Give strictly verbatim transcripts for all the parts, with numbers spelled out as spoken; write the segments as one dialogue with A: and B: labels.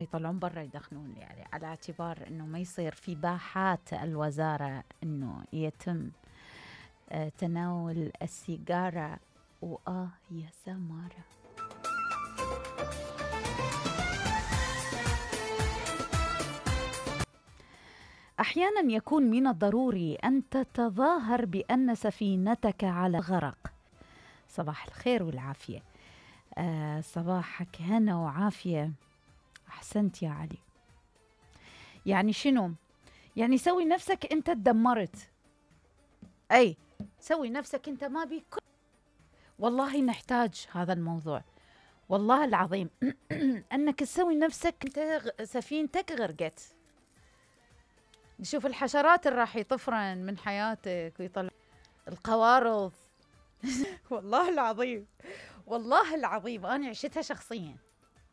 A: يطلعون برا يدخنون، يعني على اعتبار انه ما يصير في باحات الوزارة انه يتم آه تناول السيجارة. وآه يا سمارة. أحيانا يكون من الضروري أن تتظاهر بأن سفينتك على غرق. صباح الخير والعافية. آه صباحك هنا وعافية. أحسنت يا علي. يعني شنو؟ يعني سوي نفسك أنت تدمرت. أي سوي نفسك أنت ما بيك. والله نحتاج هذا الموضوع والله العظيم أنك تسوي نفسك أنت سفينتك غرقت. نشوف الحشرات اللي راح يطفرن من حياتك ويطلع القوارض. والله العظيم والله العظيم أنا عشتها شخصيا.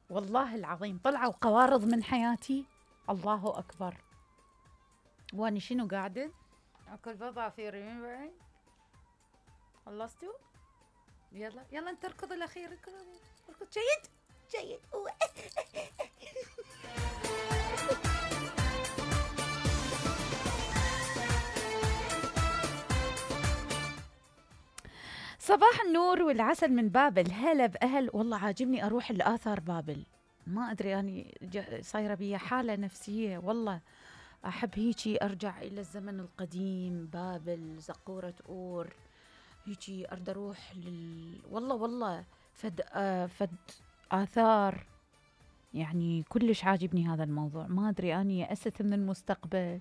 A: والله العظيم طلعوا قوارض من حياتي. الله أكبر. واني شنو قاعدة أكل بضع في رمي. خلصتوا؟ يلا يلا انت اركض الأخير. اركض اركض. جيد جيد. صباح النور والعسل من بابل. هلا بأهل. والله عاجبني أروح الآثار بابل. ما أدري يعني صايرة بي حالة نفسية. والله أحب هيجي أرجع إلى الزمن القديم. بابل زقورة أور هيجي أرد أروح لل... والله والله فد آه فد آثار. يعني كلش عاجبني هذا الموضوع. ما أدري أني يأست من المستقبل.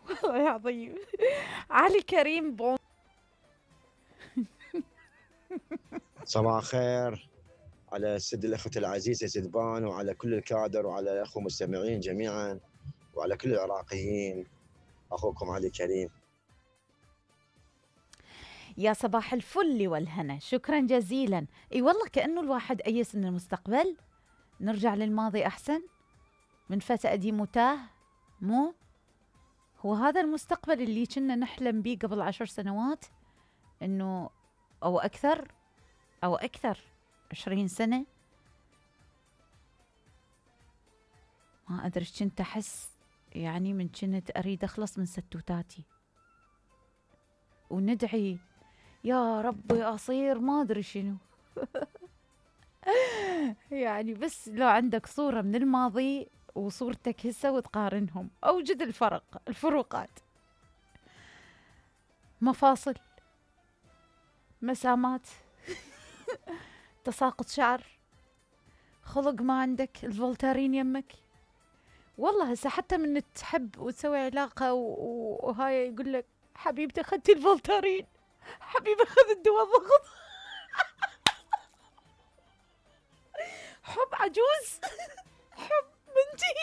A: والله عظيم. علي كريم بون.
B: صباح الخير على سد الأخوة العزيزة سدبان، وعلى كل الكادر، وعلى الأخوة المستمعين جميعا، وعلى كل العراقيين. أخوكم علي كريم.
A: يا صباح الفل والهنا. شكرا جزيلا. اي والله كأنه الواحد أيس من المستقبل. نرجع للماضي أحسن من فتى قديم وتاه. مو هو هذا المستقبل اللي كنا نحلم به قبل عشر سنوات إنه أو أكثر أو أكثر عشرين سنة. ما أدري كنت أحس يعني من كنت أريد أخلص من ستوتاتي وندعي يا ربي أصير ما أدري شنو. يعني بس لو عندك صورة من الماضي وصورتك هسه وتقارنهم أوجد الفرق الفروقات. مفاصل، مسامات، تساقط شعر، خلق ما عندك، الفولتارين يمك. والله هسه حتى من تحب وتسوي علاقة وهاي يقول لك حبيبتي أخذتي الفولتارين، حبيبي أخذ الدواء ضغط. حب عجوز. حب بنتي.